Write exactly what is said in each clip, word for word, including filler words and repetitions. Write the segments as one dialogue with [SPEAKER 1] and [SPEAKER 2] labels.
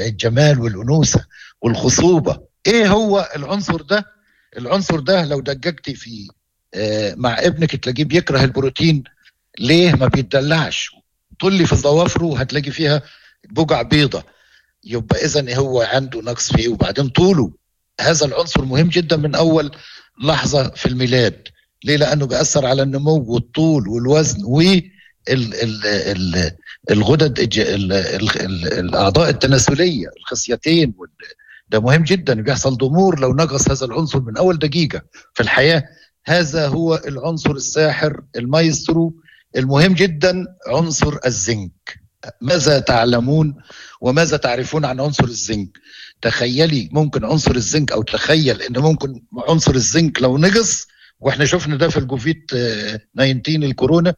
[SPEAKER 1] الجمال والأنوثة والخصوبة. إيه هو العنصر ده؟ العنصر ده لو دققتي في مع ابنك تلاقيه بيكره البروتين. ليه؟ ما بيتدلعش، طلي في ضوافره هتلاقي فيها بقع بيضة، يبقى إذن هو عنده نقص فيه. وبعدين طوله، هذا العنصر مهم جدا من أول لحظة في الميلاد. ليه؟ لأنه بيأثر على النمو والطول والوزن والغدد، الأعضاء التناسلية، الخصيتين. ده مهم جدا، بيحصل ضمور لو نقص هذا العنصر من أول دقيقة في الحياة. هذا هو العنصر الساحر المايسترو المهم جدا، عنصر الزنك. ماذا تعلمون وماذا تعرفون عن عنصر الزنك؟ تخيلي ممكن عنصر الزنك، أو تخيل إن ممكن عنصر الزنك لو نقص، واحنا شفنا ده في الكوفيد تسعتاشر الكورونا،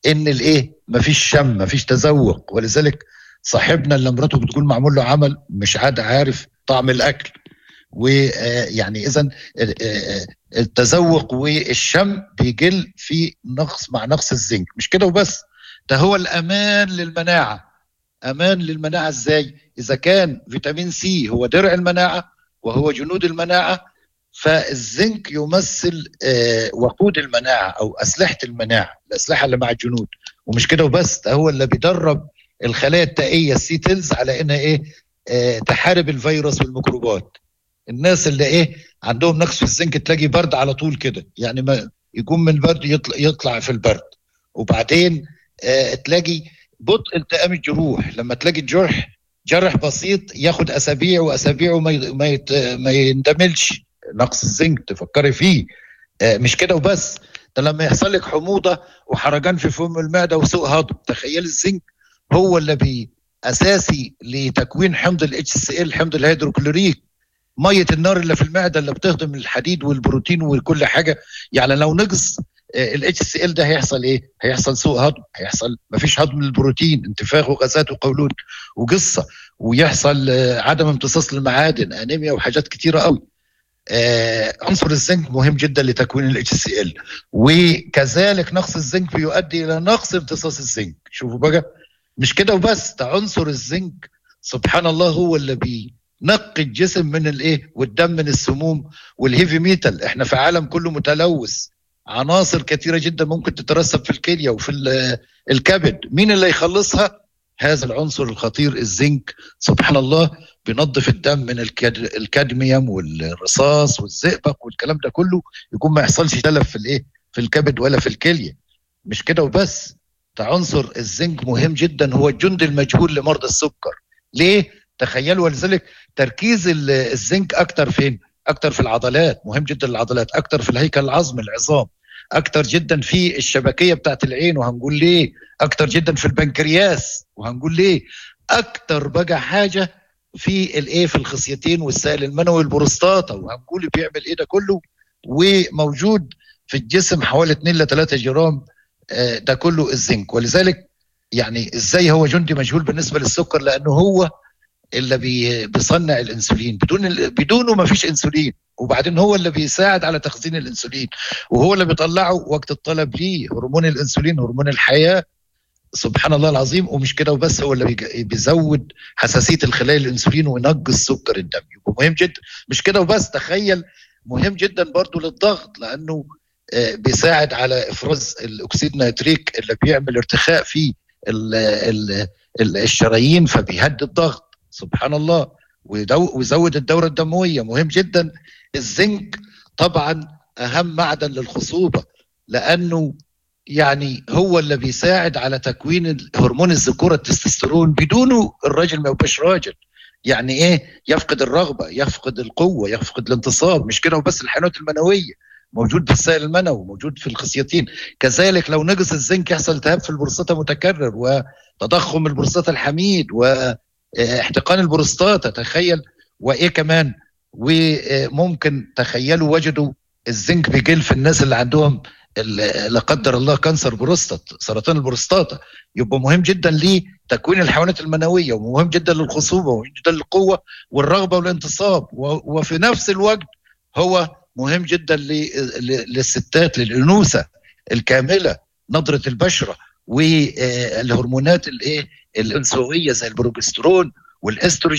[SPEAKER 1] إن الإيه مفيش شم، مفيش تذوق. ولذلك صاحبنا اللي مراته بتقول معمول له عمل مش عاد عارف طعم الأكل. ويعني إذن التذوق والشم بيقل في نقص مع نقص الزنك. مش كده وبس، ده هو الأمان للمناعة. أمان للمناعة إزاي؟ إذا كان فيتامين سي هو درع المناعة وهو جنود المناعة، فالزنك يمثل وقود المناعة أو أسلحة المناعة، الأسلحة اللي مع الجنود. ومش كده وبس، ده هو اللي بيدرب الخلايا التائية ال T cells على إنها إيه تحارب الفيروس والميكروبات. الناس اللي إيه عندهم نقص في الزنك تلاقي برد على طول كده، يعني ما يقوم من برد يطلع, يطلع في البرد. وبعدين آه تلاقي بطء التئام الجروح، لما تلاقي الجرح جرح بسيط ياخد اسابيع واسابيع وما ما ما يندملش، نقص الزنك تفكري فيه. آه مش كده وبس، ده لما يحصل لك حموضه وحرجان في فم المعدة وسوء هضم، تخيل الزنك هو اللي بي اساسي لتكوين حمض ال HCl، حمض الهيدروكلوريك، مية النار اللي في المعدة اللي بتهضم الحديد والبروتين وكل حاجة. يعني لو نقص ال HCl ده هيحصل ايه؟ هيحصل سوء هضم، هيحصل مفيش هضم للبروتين، انتفاخ وغازات وقولون وقصة، ويحصل عدم امتصاص للمعادن، انيميا وحاجات كتيرة قوي. آه عنصر الزنك مهم جدا لتكوين ال HCl، وكذلك نقص الزنك بيؤدي الى نقص امتصاص الزنك. شوفوا بقى، مش كده وبس، ده عنصر الزنك سبحان الله هو اللي بينقي الجسم من الايه والدم من السموم وال heavy metal. احنا في عالم كله متلوث، عناصر كثيرة جدا ممكن تترسب في الكلية وفي الكبد. مين اللي يخلصها؟ هذا العنصر الخطير الزنك. سبحان الله بينظف الدم من الكادميوم والرصاص والزئبق والكلام ده كله، يكون ما يحصلش تلف في الايه في الكبد ولا في الكلية. مش كده وبس، ده عنصر الزنك مهم جدا، هو الجند المجهول لمرضى السكر. ليه؟ تخيلوا. ولذلك تركيز الزنك اكتر فين؟ اكتر في العضلات، مهم جدا للعضلات، اكتر في الهيكل العظمي العظام، اكتر جدا في الشبكيه بتاعت العين وهنقول ليه، اكتر جدا في البنكرياس وهنقول ليه، اكتر بقى حاجة في الايه في الخصيتين والسائل المنوي والبروستاتا وهنقول بيعمل ايه ده كله. وموجود في الجسم حوالي اتنين لتلاتة جرام ده كله الزنك. ولذلك يعني ازاي هو جندي مجهول بالنسبة للسكر؟ لانه هو اللي بيصنع الانسولين، بدون بدونه ما فيش انسولين. وبعدين هو اللي بيساعد على تخزين الانسولين، وهو اللي بيطلعه وقت الطلب ليه، هرمون الانسولين هرمون الحياة سبحان الله العظيم. ومش كده وبس، هو اللي بيزود حساسية الخلايا الانسولين وينقص سكر الدم، يبقى مهم جدا. مش كده وبس، تخيل مهم جدا برضو للضغط، لانه بيساعد على افراز الاكسيد نيتريك اللي بيعمل ارتخاء في ال ال الشرايين فبيهدي الضغط سبحان الله، ويزود الدورة الدموية. مهم جدا الزنك طبعا أهم معدن للخصوبة، لأنه يعني هو اللي بيساعد على تكوين هرمون الذكورة التستوستيرون. بدونه الراجل ما يبقاش راجل. يعني إيه؟ يفقد الرغبة، يفقد القوة، يفقد الانتصاب. مش كده وبس، الحيوانات المنوية موجود في السائل المنوي، موجود في الخصيتين. كذلك لو نقص الزنك يحصل التهاب في البروستاتا متكرر، وتضخم البروستاتا الحميد، و احتقان البروستاتا. تخيل. وايه كمان؟ وممكن تخيلوا وجدوا الزنك بيقل في الناس اللي عندهم لا قدر الله cancer prostate، سرطان البروستاتا. يبقى مهم جدا لتكوين الحيوانات المنوية، ومهم جدا للخصوبه، ومهم جدا للقوة والرغبة والانتصاب، وفي نفس الوقت هو مهم جدا للستات، للانوثه الكاملة، نضرة البشرة، والهرمونات الايه الانثوية زي البروجسترون والاستروجين.